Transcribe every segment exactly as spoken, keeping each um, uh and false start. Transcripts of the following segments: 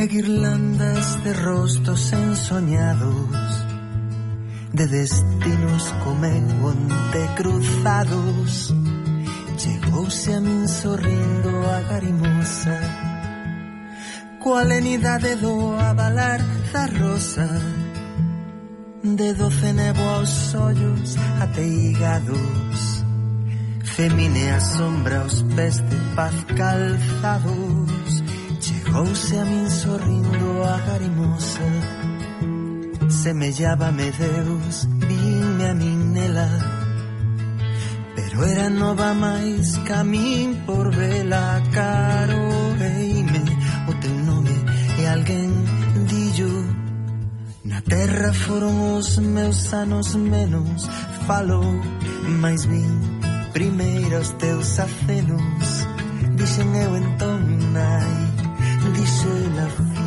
e guirlandas de rostos ensoñados, de destinos comeu onte cruzados. Chegouse a min sorrindo a garimosa, coa lenidade do avalar da rosa, de doce nevo aos ollos ateigados, femine a sombra aos pés de paz calzados. Chegouse a min sorrindo a garimosa, semellábame Deus, vinme a min nela, pero era nova máis ca min por vela. Caroeime o teu nome e alguén dillo, na terra foron os meus anos menos. Falou, mais vin primeiro os teus acenos. Dixen eu entón, nai, dixo ela, fillo.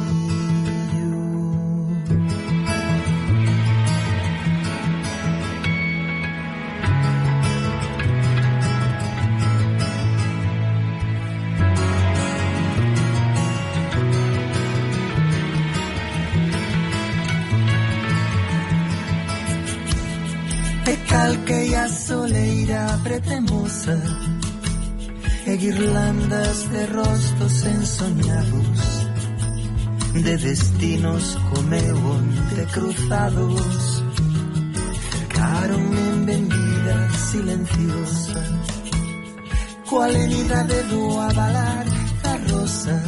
E calquei a soleira pretemosa, e guirlandas de rostos ensoñados, de destinos comeu onte cruzados. Cercaronme en vendida silenciosa, coa lenidade do avalar da rosa,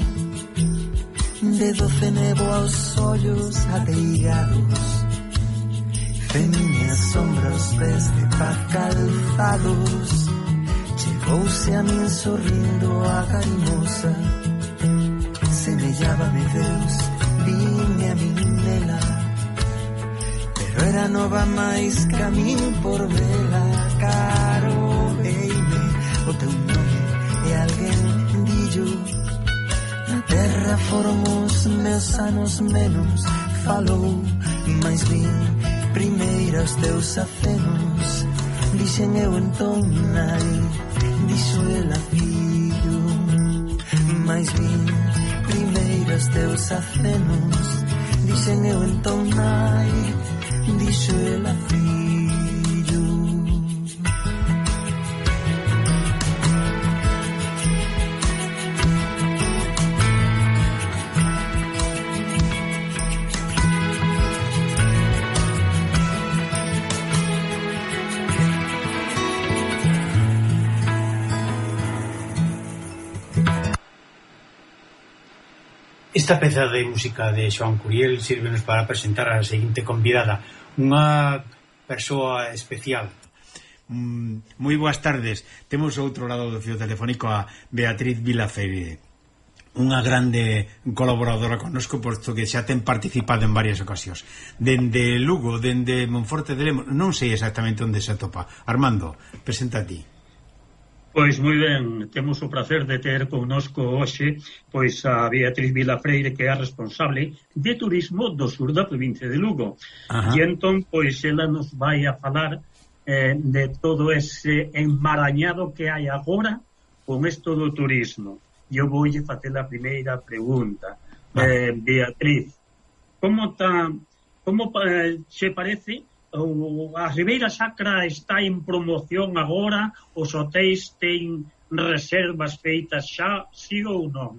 de doce nevo aos ollos ateigados, femine a sombra aos pés de paz calzados. Chegouse a min sorrindo a garimosa, semellábame Deus, vinme a min nela, pero era nova máis ca min por vela. Caroeime o teu nome e alguén dillo, na terra foron os meus anos menos. Falou, mais vin primeiro os teus acenos. Dixen eu entón, nai, dixo ela, fillo, mais vin primeiro os teus acenos. Dixen eu entón, nai, dixo ela, fillo. Esta peza de música de Xoán Curiel sírvenos para presentar a seguinte convidada, unha persoa especial. Mm, moi boas tardes. Temos ao outro lado do fío telefónico a Beatriz Vilafeire, unha grande colaboradora connosco, posto que xa ten participado en varias ocasións. Dende Lugo, dende Monforte de Lemos, non sei exactamente onde se atopa. Armando, presenta a ti. Pois moi ben, temos o placer de ter connosco hoxe pois a Beatriz Vilafreire, que é a responsable de turismo do sur da provincia de Lugo. Ajá. E entón, pois, ela nos vai a falar eh, de todo ese enmarañado que hai agora con isto do turismo. E eu voulle facer a primeira pregunta. Eh, Beatriz, como ta, como eh, se parece... a Ribeira Sacra está en promoción agora? Os hotéis ten reservas feitas xa, sí ou non?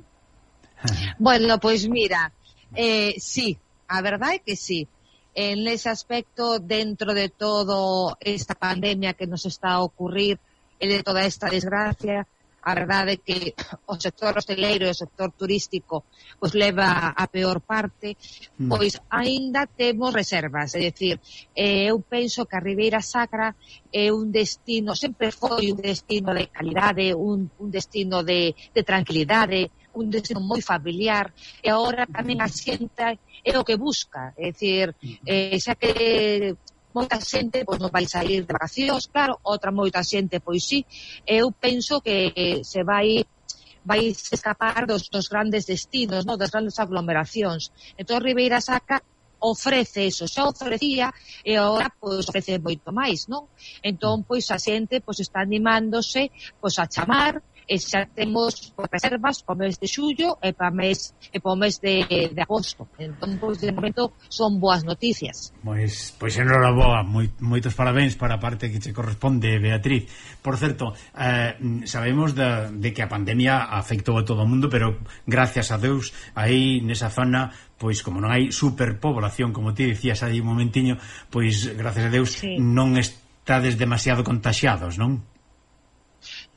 Bueno, pois mira, eh, sí, a verdade é que sí. En ese aspecto, dentro de todo esta pandemia que nos está a ocurrir e de toda esta desgracia, a verdade é que o sector hosteleiro e o sector turístico pois leva a peor parte, pois aínda temos reservas. É dicir, eh, eu penso que a Ribeira Sacra é un destino, sempre foi un destino de calidade, un, un destino de, de tranquilidade, un destino moi familiar, e agora tamén a xente é o que busca. É dicir, eh, xa que moita xente pois non vai sair de vacacións, claro, outra moita xente pois sí. Eu penso que se vai vai escapar dos, dos grandes destinos, no? Das grandes aglomeracións. Entón Ribeira Sacra ofrece eso, xa ofrecía e agora pois ofrece moito máis, non? Entón pois a xente pois está animándose pois a chamar e xa temos reservas para o mes de xullo e para mes e para o mes de, de agosto. Entón, pois, de momento son boas noticias. Pois, pois enhoraboa, moi, moitos parabéns para a parte que che corresponde, Beatriz. Por certo, eh, sabemos de, de que a pandemia afectou a todo o mundo, pero gracias a Deus aí nesa zona, pois como non hai superpoblación, como ti dicías aí un momentiño, pois gracias a Deus sí. non estades demasiado contaxiados, non?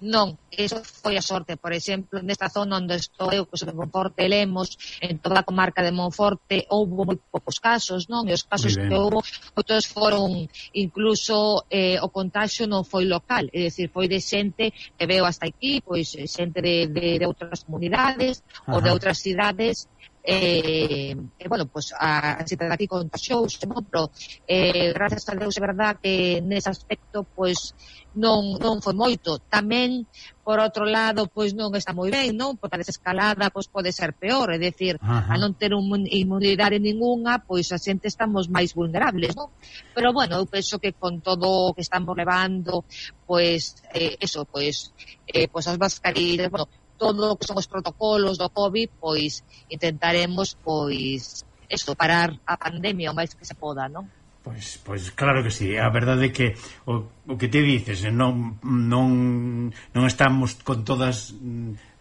Non, eso foi a sorte. Por exemplo, nesta zona onde estou eu, que son de Monforte e Lemos, en toda a comarca de Monforte houve moi poucos casos, non? E os casos que houve, outros foron, incluso eh, o contagio non foi local, é dicir, foi de xente que veo hasta aquí, pois xente de, de, de outras comunidades ou de outras cidades. Eh, eh, bueno, pues a, a xente de aquí contagiouse, non? Pero eh, gracias a Deus é verdad que nese aspecto pois non, non foi moito. Tamén, por outro lado, pois non está moi ben, non? Porque a desescalada pois pode ser peor, é dicir, a non ter un, inmunidade ninguna, pois a xente estamos máis vulnerables, non? Pero bueno, eu penso que con todo o que estamos levando, pois eh, eso, pois eh, pois as mascarillas, bueno, todo o que son os protocolos do COVID, pois intentaremos, pois, eso, parar a pandemia o máis que se poda, non? Pois, pois claro que sí, a verdade é que o, o que te dices, non, non, non estamos con todas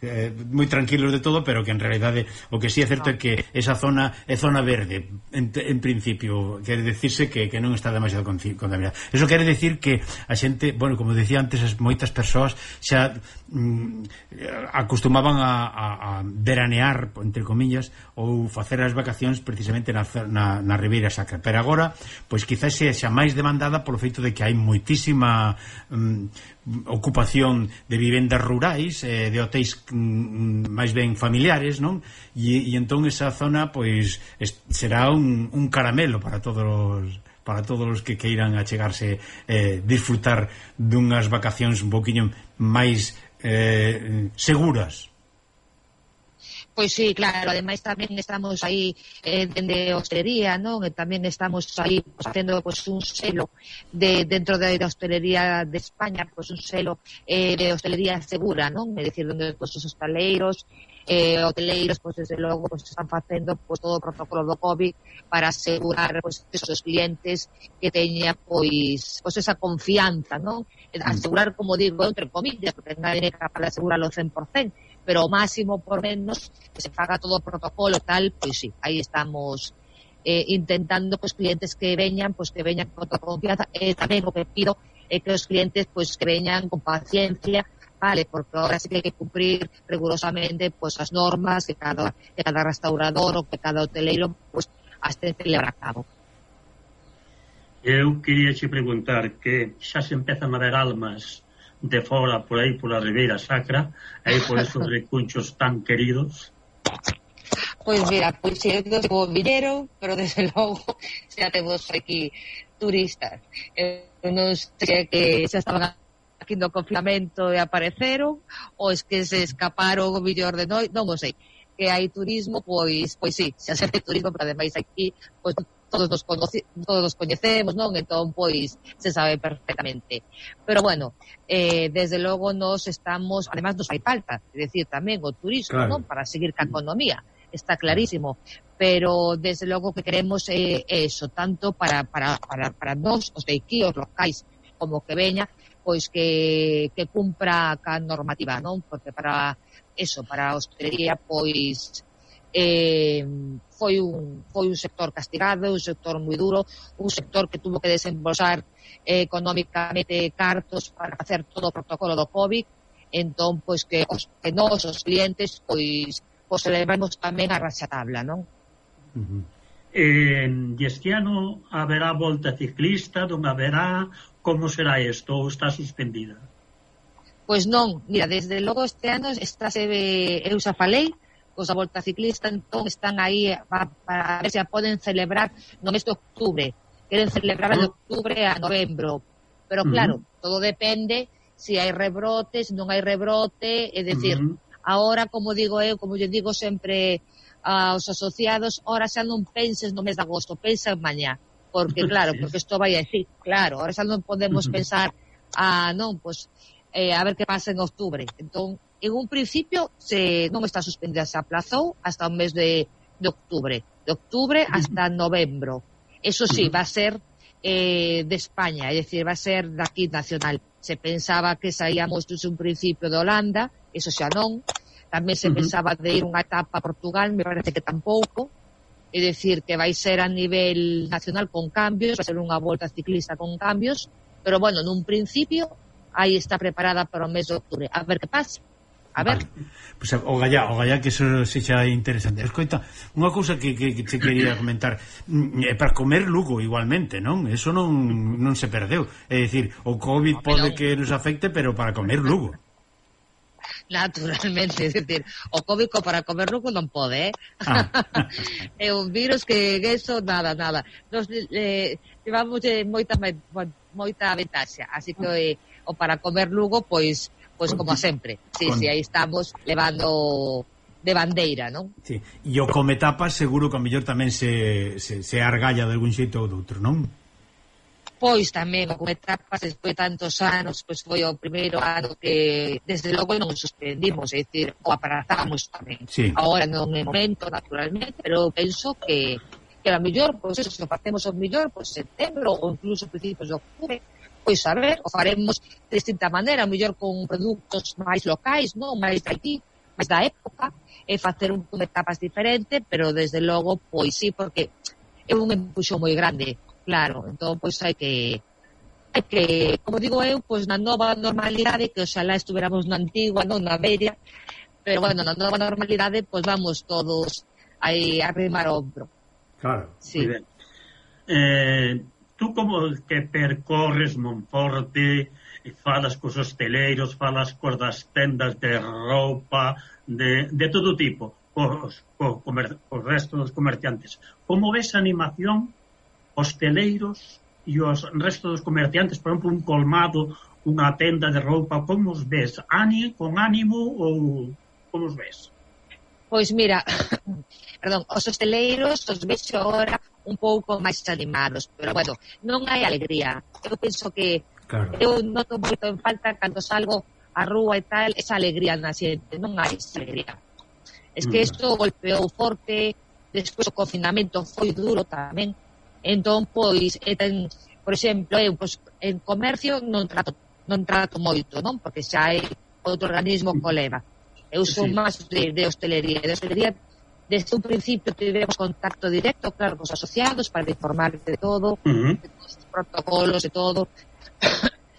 eh, moi tranquilos de todo, pero que en realidade o que sí é certo no. é que esa zona é zona verde, en, en principio quere decirse que, que non está demasiado contaminada. Eso quere decir que a xente, bueno, como decía antes, as moitas persoas xa mm, acostumaban a, a, a veranear, entre comillas, ou facer as vacacións precisamente na, na, na Ribeira Sacra, pero agora pois quizás sexa máis demandada polo feito de que hai moitísima mm, ocupación de vivendas rurais, eh, de hotéis mm, máis ben familiares, non? E, e entón esa zona pois es, será un, un caramelo para todos os para todos os que queiran achegarse, eh, disfrutar dunhas vacacións un poquinho máis eh, seguras. Pois sí, claro, ademais tamén estamos aí eh, dende hostelería, non? E tamén estamos aí pues, facendo pues, un selo de dentro da de hostelería de España, pues, un selo eh, de hostelería segura, non? É dicir, onde pues, os hostaleiros, eh, hoteleiros, pues, desde logo, pues, están facendo pues, todo o protocolo do COVID para asegurar pues, esos clientes que teña pois, pues, esa confianza, non? Asegurar, como digo, entre comillas, porque nadie é capaz de asegurarlo cen por cento, pero o máximo por menos que se faga todo o protocolo tal, pois sí, aí estamos eh, intentando pues clientes que veñan, pues que veñan con toda confianza, e eh, tamén o que pido é eh, que os clientes pues que veñan con paciencia, vale, porque ahora sí que hai que cumprir rigurosamente pues as normas que cada, que cada restaurador ou que cada hoteleiro pues as ten que levar a cabo. Eu queria che preguntar que xa se empezan a ver almas de fora por aí, pola Ribeira Sacra, aí por esos recunchos tan queridos? Pois mira, pois eu digo villero, pero desde logo xa temos aquí turistas. Eu non sei que xa estaban aquí no confinamento e apareceron, ou es que se escaparon o millor de noi, non o sei. Que hai turismo, pois pois sí, xa se hai turismo, pero ademais aquí pois todos nos, conoce, todos nos coñecemos, non? Entón, pois, se sabe perfectamente. Pero, bueno, eh, desde logo nos estamos, además nos hai falta, é dicir, tamén o turismo, claro, non? Para seguir ca economía, está clarísimo. Pero, desde logo, que queremos é eh, eso, tanto para, para, para, para nós, os de aquí, os locais, como que veña, pois que, que cumpra ca normativa, non? Porque para eso, para a hostelería, pois, eh, foi un foi un sector castigado, un sector moi duro, un sector que tuvo que desembolsar eh, económicamente cartos para facer todo o protocolo do COVID. Entón, pois que os que nós, os clientes, pois pois levamos tamén a raxatabla, non? Uh-huh. Eh, este ano haberá volta ciclista, non haberá, como será isto, ou está suspendida? Pois non, mira, desde logo este ano está se eu xa falei os da volta ciclista, entón están aí para, para ver se a poden celebrar no mes de octubre. Queren celebrar de octubre a novembro. Pero claro, uh-huh, todo depende se hai rebrotes, non hai rebrote, é dicir, uh-huh, ahora, como digo eu, como eu digo sempre aos asociados, ahora xa non penses no mes de agosto, pensa en mañá, porque claro, porque isto vai así, claro, ahora xa non podemos uh-huh pensar, ah, non, pois, eh, a ver que pasa en octubre. Entón, en un principio se non está suspendida, se aplazou hasta o mes de, de octubre, de octubre hasta novembro. Eso sí, va a ser eh, de España, es decir, va a ser de aquí nacional. Se pensaba que saíamos desde un principio de Holanda, eso xa non. Tamén se uh -huh. pensaba de ir unha etapa a Portugal, me parece que tampouco. É dicir, que vai ser a nivel nacional con cambios, vai ser unha volta ciclista con cambios, pero bueno, nun principio, aí está preparada para o mes de octubre. A ver que pasa. A ver. Vale. Pues, o gallá, o gallá que eso sexa interesante. Escoita, unha cousa que, que, que te quería comentar, é para comer Lugo igualmente, non? Eso non, non se perdeu. É dicir, o COVID pode que nos afecte, pero para comer Lugo. Naturalmente, é dicir, o COVID para comer Lugo non pode, eh? Ah. É un virus que eso, nada, nada. Nos eh, llevamos eh, moita moita ventaxa, así que eh, o para comer Lugo, pois Pois como sempre, sí, con... sí, aí estamos levando de bandeira, non? Sí, e o come tapas seguro que a mellor tamén se, se, se argalla de algún xeito ou de outro, non? Pois tamén o come tapas despois de tantos anos, pois foi o primeiro ano que desde logo non suspendimos, é dicir, o aparatamos tamén. Sí. Agora non é momento, naturalmente, pero penso que que a mellor, pois eso, se o facemos o mellor, pois setembro ou incluso principios de octubre, pois a ver, o faremos de distinta maneira, mellor con produtos máis locais, non? Máis de aquí, máis da época, e facer un de etapas diferente, pero desde logo, pois sí, porque é un empuxo moi grande, claro, entón, pois hai que hai que, como digo eu, pois na nova normalidade, que oxalá estuveramos na antigua, non na media, pero bueno, na nova normalidade, pois vamos todos aí a arrimar o ombro. Claro, sí. Muy ben. Eh... Tú como que percorres Monforte, falas cos hosteleiros, falas cos das tendas de roupa, de, de todo tipo, cos, cos, comer, cos restos dos comerciantes. Como ves a animación hosteleiros e os restos dos comerciantes, por exemplo, un colmado, unha tenda de roupa, como os ves? Ani, con ánimo ou como os ves? Pois mira, perdón, os hosteleiros os vexo agora un pouco máis animados, pero bueno, non hai alegría. Eu penso que claro. Eu noto moito en falta cando salgo a rúa e tal, esa alegría na xente, non hai esa alegría. Es que isto mm. golpeou forte, despois o confinamento foi duro tamén, entón, pois, ten, por exemplo, eu, pois, en comercio non trato, non trato moito, non? Porque xa hai outro organismo que o leva. Eu son sí. máis de, de hostelería, de hostelería. Desde un principio tivemos contacto directo, claro, con os asociados para informar de todo, uh-huh. de todos os protocolos, de todo.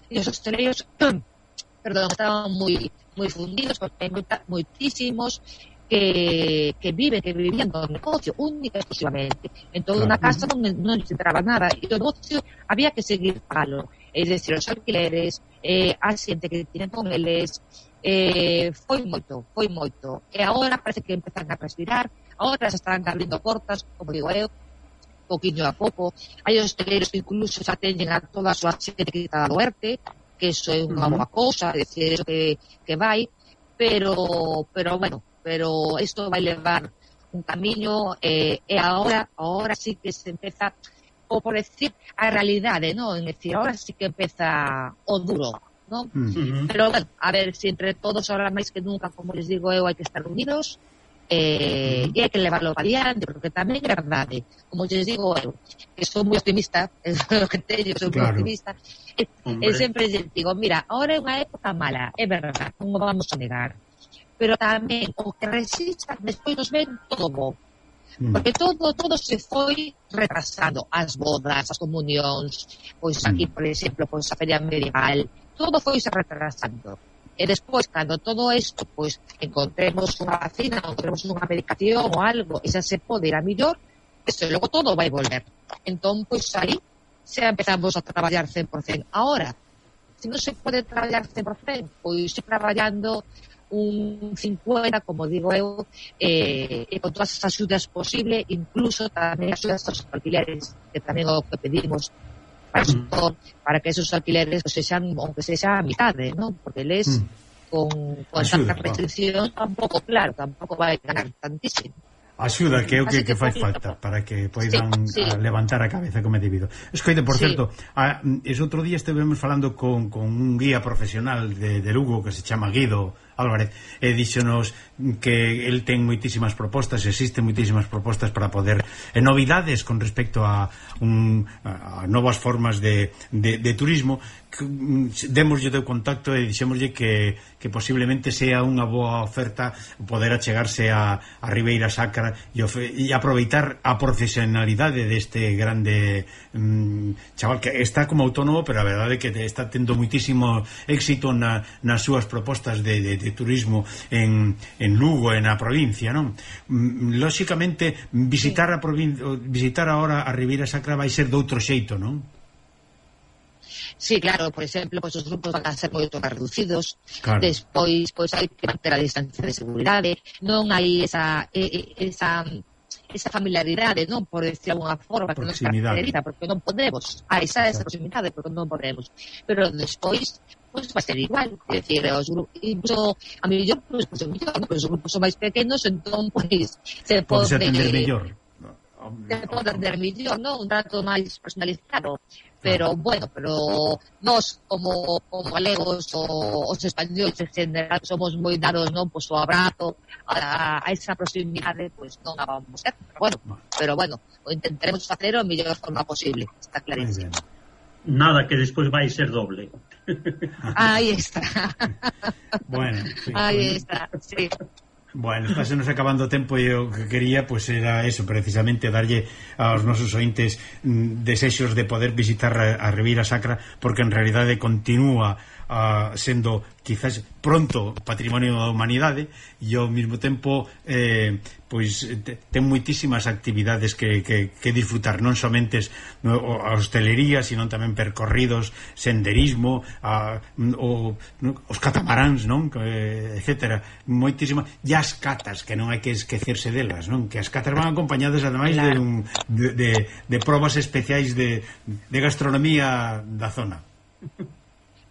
E os hosteleiros, perdón, estaban moi moi fundidos, porque hai moita, moitísimos que, que viven, que vivían do negocio, única e exclusivamente. Entón, claro. Na casa non, non se entraba nada, e o negocio había que seguir palo. É dicir, os alquileres, eh, a xente que tienen con eles, eh, foi moito, foi moito. E agora parece que empezan a respirar, agora se están abrindo portas, como digo eu, poquinho a pouco. Hai hosteleiros que incluso xa teñen a toda a súa xente quitada do ERTE, que iso é unha boa cousa, é dicir, eso que, que vai, pero, pero bueno, pero isto vai levar un camiño, eh, e agora, agora sí que se empeza, ou por decir, a realidade, non? É dicir, agora sí que empeza o duro, non? Uh-huh. Pero, bueno, a ver, si entre todos, ahora máis que nunca, como les digo eu, hai que estar unidos, eh, e hai que levarlo para diante, porque tamén é verdade, como les digo eu, que son moi optimista, é o que teño, son claro. moi optimista, e, e sempre les digo, mira, ahora é unha época mala, é verdade, non o vamos a negar, pero tamén o que resista, despois nos ven todo bo, porque todo todo se foi retrasando, as bodas, as comunións, pois aquí, por exemplo, pois a feria medieval, todo foi se retrasando. E despois, cando todo isto, pois, encontremos unha vacina, encontremos unha medicación ou algo, e xa se pode ir a millor, eso logo todo vai volver. Entón, pois, aí, xa empezamos a traballar cen por cento. Ahora, se non se pode traballar cen por cento, pois, se traballando un cincuenta, como digo eu, eh, e con todas as axudas posible, incluso tamén axudas aos alquileres, que tamén o que pedimos para, mm. para que esos alquileres pues, sexan, aunque sexa a mitade, ¿no? Porque les mm. con, con tanta restricción tampouco, claro, tampouco vai ganar tantísimo. Axuda que é o que, que, que fai falta para que poidan sí, sí. A levantar a cabeza como é debido. Escoite, por sí. certo, a, ese outro día estivemos falando con, con un guía profesional de, de Lugo que se chama Guido Álvarez, e díxonos que el ten moitísimas propostas, existen moitísimas propostas para poder, e novidades con respecto a, un, a novas formas de, de, de turismo. Démoslle o contacto e dixémoslle que, que posiblemente sea unha boa oferta poder achegarse a, a Ribeira Sacra e, ofe, e aproveitar a profesionalidade deste grande mm, chaval que está como autónomo, pero a verdade é que está tendo moitísimo éxito na, nas súas propostas de, de, de turismo en, en Lugo e na provincia, non? Lóxicamente visitar a provincia, visitar agora a Ribeira Sacra vai ser de outro xeito, non? Sí, claro, por exemplo, pois os grupos van a ser moito máis reducidos, claro. Despois pois hai que manter a distancia de seguridade, non hai esa esa esa familiaridade, non, por decir alguna forma, que non caracteriza, porque non podemos, a esa esa proximidade, porque non podemos, pero despois pois vai ser igual, é dicir, os grupos, incluso a mellor, pois, pois, os grupos son máis pequenos, entón, pois, se pode... Pode atender mellor. Se pode atender mellor, non, un trato máis personalizado, pero, bueno, pero nós, como, como galegos, o, os españoles en general, somos moi dados, non, pois, o abrazo, a, a esa proximidade, pois, non a vamos a ter, pero, bueno, pero, bueno, o intentaremos facer o mellor forma posible, está clarísimo. Nada, que despois vai ser doble. Aí está. Bueno, sí, aí está, sí. Bueno, está se nos acabando o tempo e o que quería pois pues, era eso, precisamente darlle aos nosos ointes mm, desexos de poder visitar a, a Ribeira Sacra, porque en realidade continúa uh, sendo quizás pronto patrimonio da humanidade e ao mesmo tempo eh, pois te, ten moitísimas actividades que, que, que disfrutar, non somente no, a hostelería, sino tamén percorridos, senderismo, a, o, no, os catamaráns, non? Eh, etcétera, moitísimas, e as catas, que non hai que esquecerse delas, non? Que as catas van acompañadas ademais de, un, de, de, de probas especiais de, de gastronomía da zona.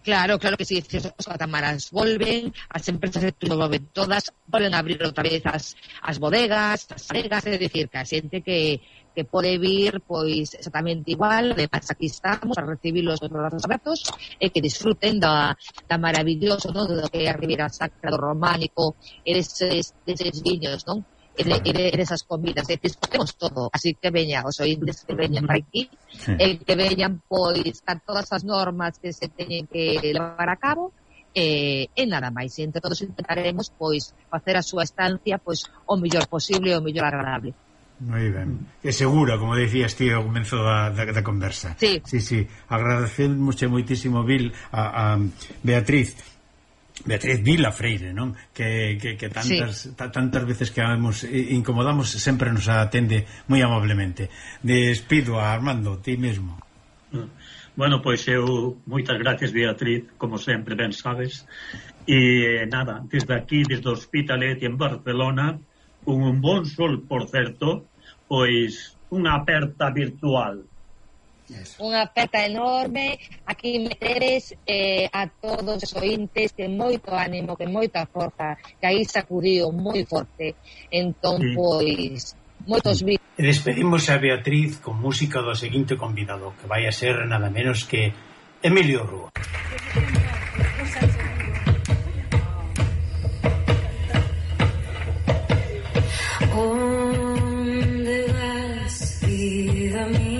Claro, claro que sí, os catamaráns volven, as empresas de turismo volven todas, volven a abrir outra vez as, as bodegas, as aregas, é dicir, que a xente que, que pode vir, pois, exactamente igual, además aquí estamos a recibirlos os brazos abertos, e que disfruten da, da maravilloso, non, do que é a Ribeira Sacra, do románico, e deses, deses viños, non? E de, e de, de esas comidas, e disfrutemos todo, así que veñan os oíntes que veñan para aquí, sí. E que veñan, pois, están todas as normas que se teñen que levar a cabo, e, e nada máis, e entre todos intentaremos, pois, facer a súa estancia, pois, o mellor posible e o mellor agradable. Moi ben, é segura, como decías ti ao comezo da, da, da conversa. Sí, sí, sí. Agradecemos moitísimo, Vil, a, a Beatriz Beatriz Vila Freire, non? Que, que, que tantas, sí. ta, tantas veces que hemos, incomodamos sempre nos atende moi amablemente. Despido a Armando, ti mesmo. Bueno, pois eu moitas gracias, Beatriz, como sempre, ben sabes. E nada, desde aquí, desde o Hospitalet en Barcelona, con un bon sol, por certo, pois unha aperta virtual. Yes. Unha aperta enorme, aquí meteres eh, a todos os ointes, que moito ánimo, que moita forza, que aí sacudiu moi forte, entón, sí. Pois, moitos vídeos. E despedimos a Beatriz con música do seguinte convidado, que vai a ser nada menos que Emilio Rúa. ¿Dónde vas, vida mía?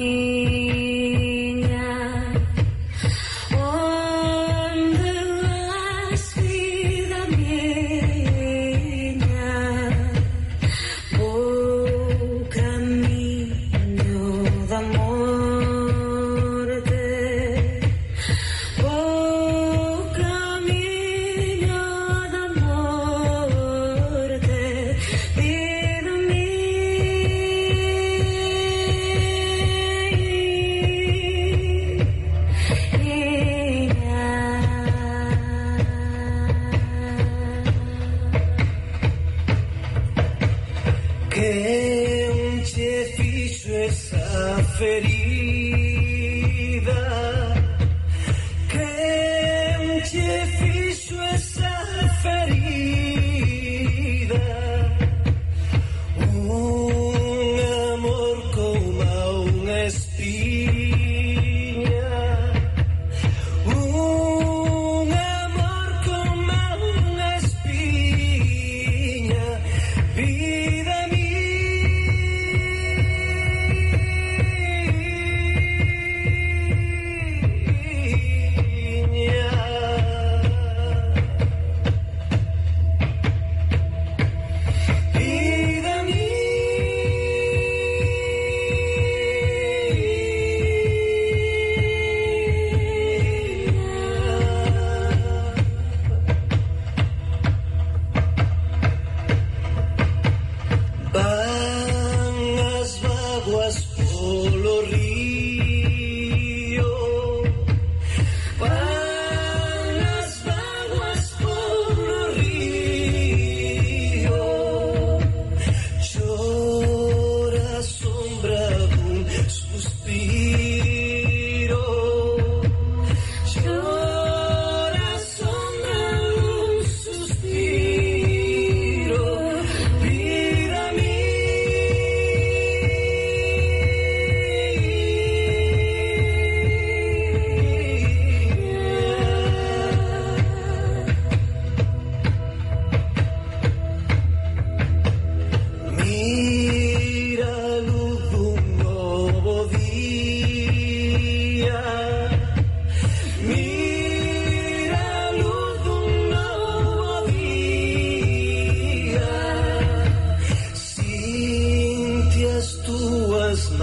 Un amor como una espina.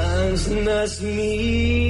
mans nas miñas